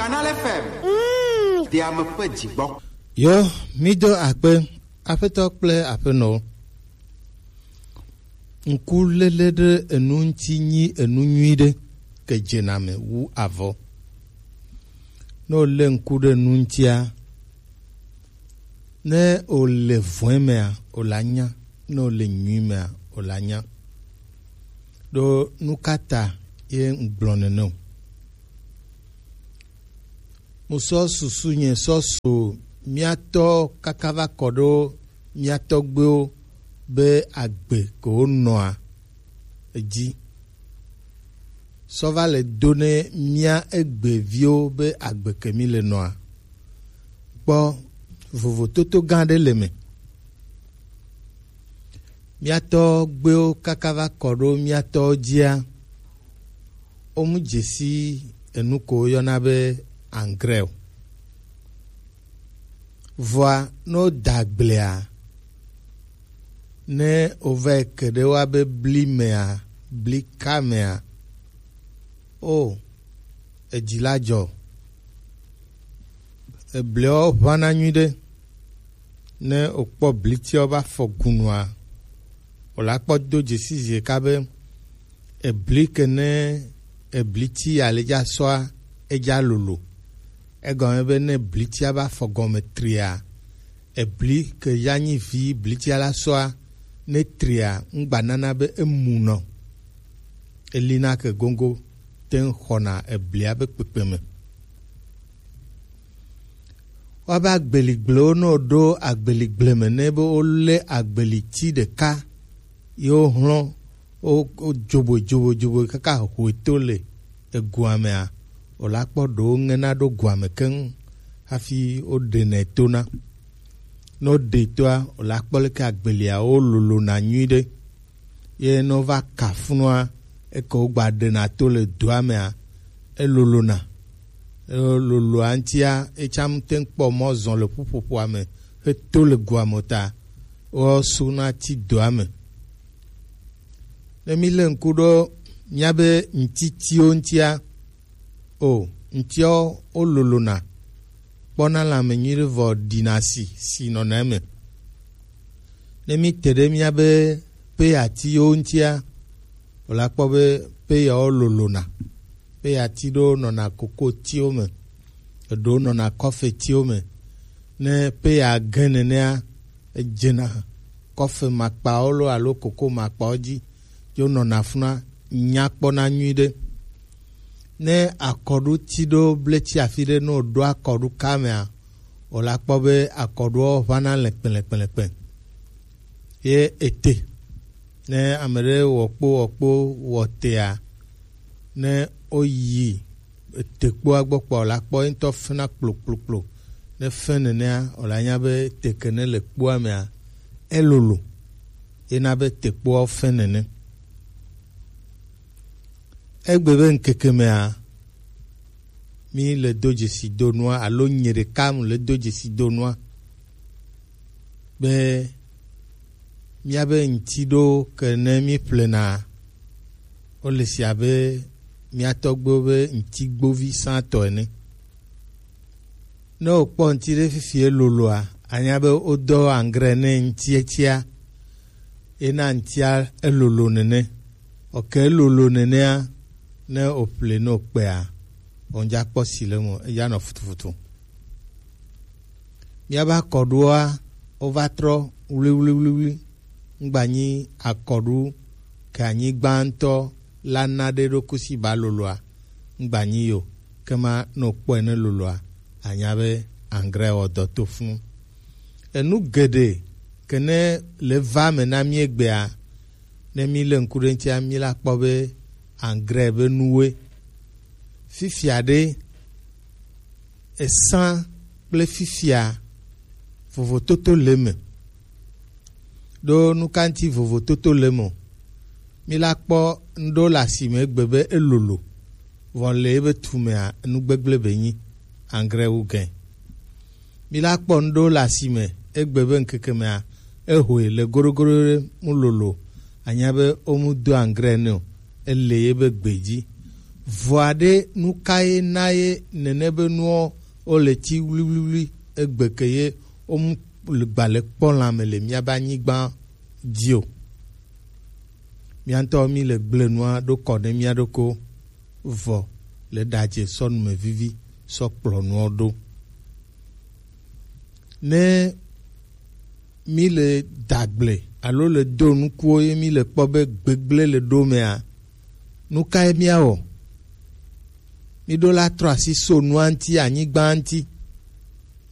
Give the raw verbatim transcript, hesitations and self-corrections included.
Canal F M. Mm. Deame ƒe dzigbɔ. Yo, mido akpe, aƒetɔ kple aƒenɔwo. Ŋkuléle ɖe enu ŋuti nyi enu nyui ɖe ke dzena me wu avɔ. Ne wòlé ŋku ɖe nu ŋutia, ne wòle vɔ̃e mea, wòle anya. Ne wòle nyui mea, wòle anya. Ɖo nu ka ta ye ŋgblɔ nene o? Musɔ susu nye sɔ so míatɔ kaka va kɔ ɖo mía tɔgbuiwo be agbe ke wonɔa edzi. Sɔ va le do ne mía egbeviwo be agbe ke mí le nɔa. Kpɔ, vovototo gã ɖe le me. Mía tɔgbuiwo kaka va kɔ ɖo mía tɔwo dzia, womu dzesi enu ko woyɔna be engrais o. Vɔa, ne woda agblea, ne wova yi ke ɖe woa be bli mea, bli ka mea, o, edzi la dzɔ. Ebliawo ʋãna nyuiɖe. Ne wòkpɔ blitiawo va fɔ gunua, wòle akpɔ do dzesi zi ɖeka be ebli ke ne ebliti ya le dza sɔa, edza lolo. Egɔme be ne blitia va fɔ gɔme tria, ebli ke ya nyi vi blitia la sɔa, ne tria, ŋgba nana be emunɔ. Elina ke gogo te ŋu xɔna eblia be kpekpe me. Woabe agbeligblẽwo ne woɖo agbeligblẽ me ne be wolé agbeliti ɖeka ye wohlɔ̃, wo- wodzoboi, dzoboi, dzoboi kaka hoe to le egoa mea, wòle akpɔ ɖewo ŋena ɖo goa me keŋ hafi woɖenɛ tona. Ne woɖe toa, wòle akpɔ leke agbelia wololona nyuiɖe. Ye ne wova ka funua, eke wogba ɖena to le doa mea, elolona. Eloloa ŋutia, etsam te ŋu kpɔ mɔ zɔ le ƒuƒoƒoa me heto le goa me o ta, woasuna ti doa me. Ne mílé ŋku ɖo míabe ŋtitiwo ŋutia, o, ŋtiawo wololona, kpɔna lãme nyuiɖe vɔ ɖina si, si nɔna eme. Ne míte ɖe míabe peyatiwo ŋutia, wòle akpɔ be peyawo lolona. Peyati ɖewo nɔna kokotiwo me, eɖewo nɔna kɔfetiwo me. Ne peya gẽ nenea, edzena kɔfe makpawo lo alo koko makpawo dzi, ye wonɔna funua, nya kpɔna nyuiɖe. Ne akɔɖu ti ɖo bleti afi ɖe, ne wòɖo akɔɖu ka mea, wòle akpɔ be akɔɖuawo ʋãna lɛkpɛlɛkpɛlɛkpɛ. Ye ete, ne ame ɖe wɔ kpo wɔ kpo wɔ tea, ne woyi ete kpoa gbɔ kpɔ, wòle akpɔ ye ŋutɔ fena kplokplokplo. Ne fe nenea, wòle anya be te ke ne le kpoa mea, elolo. Ye na be te kpoawo fe nene. Egbe be ŋkeke mea, mí le do dzesi do nua, alo nye ɖeka mu le do dzesi do nua, be míabe ŋti ɖo ke ne mí ƒlena, wole si abe mía tɔgbuiwo be ŋti gbovi sãtɔ ene. Ne wòkpɔ ŋti ɖe fifi eloloa, anya be wodɔ angre ne ŋtia tsia, ena ŋtia elolo nene. Oke elolo nenea, ne wòƒle ne wòkpea, wòdza kpɔ si le eme, edza nɔ futufutu. Míabe akɔɖuwoa, wova trɔ wliwliwliwli. Ŋgba nyi akɔɖu ke anyigba ŋutɔ la na ɖe ɖo kusi ba loloa, ŋgba nyi yo. Kema ne wòkpɔe ne loloa, anya be angre wɔ dɔ to funu. Enu geɖe ke ne le va me na mí egbea, ne mí le ŋku ɖe ŋutia, mí la kpɔ be angre be nuwoe. Fifia ɖe, esã kple fifia vovototo le eme. Ɖo nu ka ŋuti vovototo le eme o? Mí la kpɔ ŋɖewo le asime egbe be elolo, vɔ le ebe tumea, enu gbegblẽ be nyi, angre wu gɛ. Mí la kpɔ ŋɖewo le asime egbe be ŋkeke mea, ehoe le goɖogoɖo ɖe mu lolo, anya be womu do angre nɛ o, ele ye be gbe dzi. Vɔa ɖe, nu ka ye na ye nene be nuwo wo le ti wliwliwli egbe ke ye wo mu gba le kpɔ lãme le míabe anyigba dzi o? Mía ŋutɔ mí le gble nua ɖo kɔ ne mía ɖokɔ vɔ le ɖadze sɔ numevivi sɔ kplɔ nuwo ɖo. Ne mí le dagble alo le do nukuwo ye mí le kpɔ be gbegble le ɖo mea, nu kae míawɔ? Mí ɖo la trɔ asi so nua ŋuti, anyigba ŋuti,